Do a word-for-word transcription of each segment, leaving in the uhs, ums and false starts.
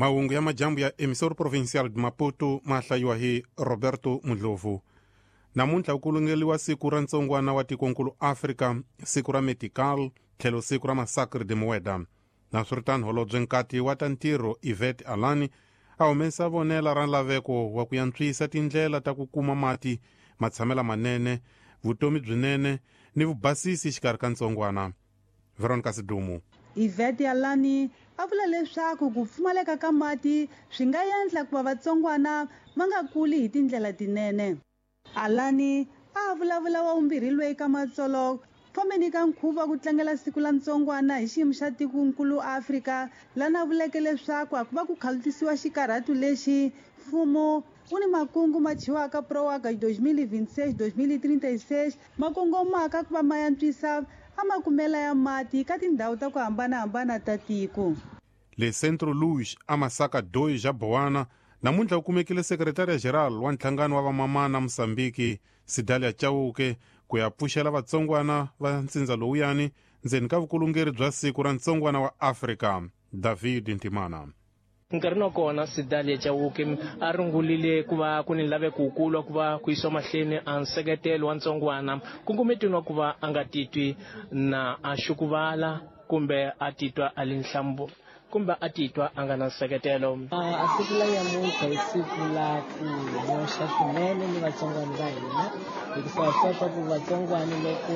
Mahungu ya majambu ya Emissora Provincial de Maputo ma hlayiwa hi Roberto Mudlovu. Namuntlha ku lungeliwa siku ra ntsongwana wa tikonkulu Afrika, siku ra Medical, tlhelo siku ra Massacre de Mueda. Naswiritano holobye nkati wa ta ntirho Yvette Alani a humesa vonela ra laveko wa ku yantswisa tindlela ta ku kuma mati, matshamela manene, vutomi byinene ni vubasisi xikarhi ka ntsongwana. Veronica Sidumu. Yvette Alani a vula leswaku ku pfumaleka ka mati swi nga endla ku va vatsongwana va nga kuli hi tindlela tinene. Alani a vulavula wa vumbirhi loyi ka Matsolo fambeni ka nkhuvo wa ku tlangela siku la ntsongwana hi xiyimo xa tikonkulu Afrika lana vuleke leswaku a ku va ku khalutisiwa xikarhatu lexi mfumo wu ni makungu ma thyiwaka Proaga twenty twenty-six twenty thirty-six ma kongomaka ku va ma yantswisa a makumela ya mati ka tindhawu ta ku hambanahambana ta tiko. Le Centro Luz a Masaka dois ja Boana namuntlha ku kumekile sekretariya general wa nhlangano wa vamamana Mosambiki Sidalia Chauke ku ya pfuxela vatsongwana va ntsindza lowuyani ndzeni ka vukulungeri bya siku ra ntsongwana wa Afrika. David Ntimana. Nkarhi wa kona Sidalia Chauke a rungulile ku va ku ni laveko wukulu ku va ku yisiwa mahlweni a nseketelo wa ntsongwana kungumetweni wa ku va a nga titwi na a xukuvala kumbe a titwa a li nhlambu kumbe a titwa a nga na nseketelo. A siku la nyamuntlha i siku la ku nyoxa swinene ni vatsongwana va hina hikuva swi tiva swa ku vatsongwana loko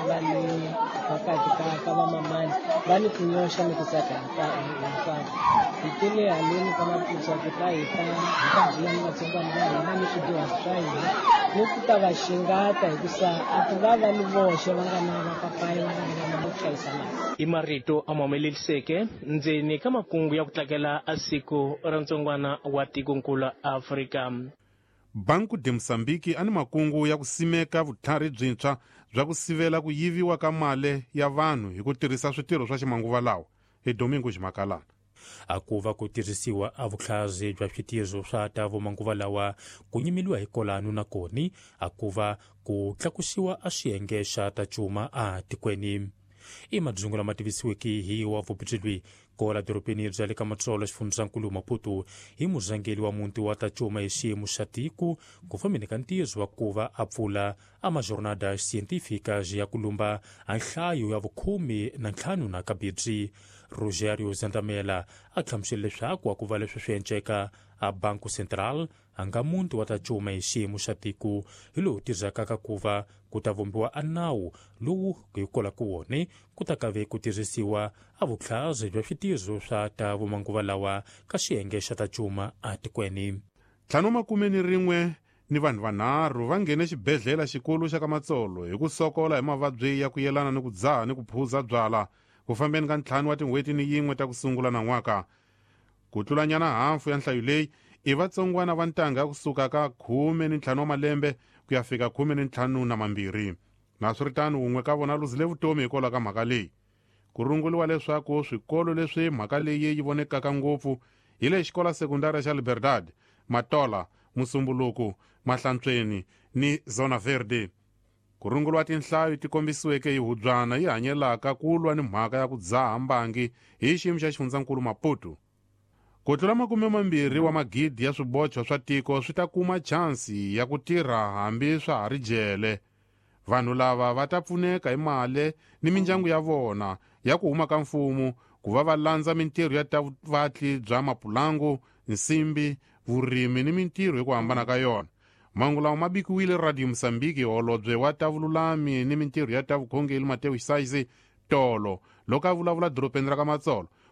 va le phakathi ka ka vamamani va ni ku nyoxa ni ku tsaka hinkwako. Hi tele haleni ka Maputo ku ta hi ta hi ta bula ni vatsongwana va hina ni swidyuhari swa hina ni ku ta va xingata hikusa a ku va va ni voxe va nga na vapapayi va nga na vamama ku hlayisa mali. I marito a ma humeleliseke ndzeni ka makungu ya ku tlakela a siku ra ntsongwana wa tikonkulu Afrika. Banco de Moçambique a ni makungu ya ku simeka vutlhari byintshwa bya ku sivela ku yiviwa ka mali ya vanhu hi ku tirhisa switirho swa ximanguva lawa. Hi Domingo Ximakalana. A ku va ku tirhisiwa a vutlhari bya switirho swa ta vumanguva lawa ku nyimeliwa hi kolanu na koni a ku va ku tlakusiwa a xiyenge xa ta cuma a tikweni. I madzungu lama tivisiweke hi wa vupitsilwi kola dorobeni bya le ka Matsolo xifundzankulu Maputo hi murhangeri wa muti wa ta cuma hi xiyimo xa tiko ku fambeni ka ntirho wa ku va a pfula a majornada científicas ya ku lumba a nhlayo ya vukhume na ntlhanu na kabirhi. Rogerio Zandamela a hlamusela leswaku a ku va leswi swi enceka a Banco Central a nga muti wa ta cuma hi xiyimo xa tiko hi lowu tirhaka ka ku va ku ta vumbiwa a nawu lowu hi ku wona ku ta kave ku tirhisiwa a vutlhari bya switirho swa ta vumanguva lawa ka xiyenge xa ta cuma a tikweni. Ntlhanu makume ni rin'we ni vanhu vanharhu va nghene xibedhlele xikulu xa ka Matsolo hi ku sokola hi mavabyi ya ku yelana ni ku dzaha ni ku phuza byala ku fambeni ka ntlhanu wa tin'hweti ni yin'we ta ku sungula nan'waka. Ku tlulanyana hafu ya nhlayo leyi i vatsongwana va ntanga kusuka ka khume ni ntlhanu wa malembe ku ya fika khume ni ntlhanu na mambirhi. Naswiritano wun'we ka vona luzile vutomi hikwalaho ka mhaka leyi. Ku runguliwa leswaku swikolo leswi mhaka leyi yi vonekaka ngopfu hi le xikola sekundari xa Liberdade, Matola, Musumbuluku, Mahlantsweni ni Zona Verde. Ku runguliwa tinhlayo ti kombisiweke hi hubyana yi hanyelaka ku lwa ni mhaka ya ku dzaha mbangi hi xiyimo xa xifundzankulu Maputo. Ku tlula makume mambirhi wa magidi ya swibocho swa tiko swi ta kuma chansi ya ku tirha hambi swa ha ri jele. Vanhu lava va ta pfuneka hi mali ni mindyangu ya vona ya ku huma ka mfumo ku va va landza mintirho ya ta vatli bya mapulangu, nsimbi, vurimi ni mintirho hi ku hambana ka yona. Mahungu lawa ma bikiwile Radio Mosambiki holobye wa ta vululami ni mintirho ya ta vukhongeri Mateo Xisayisi tolo loko a vulavula dorobeni ra ka Matsolo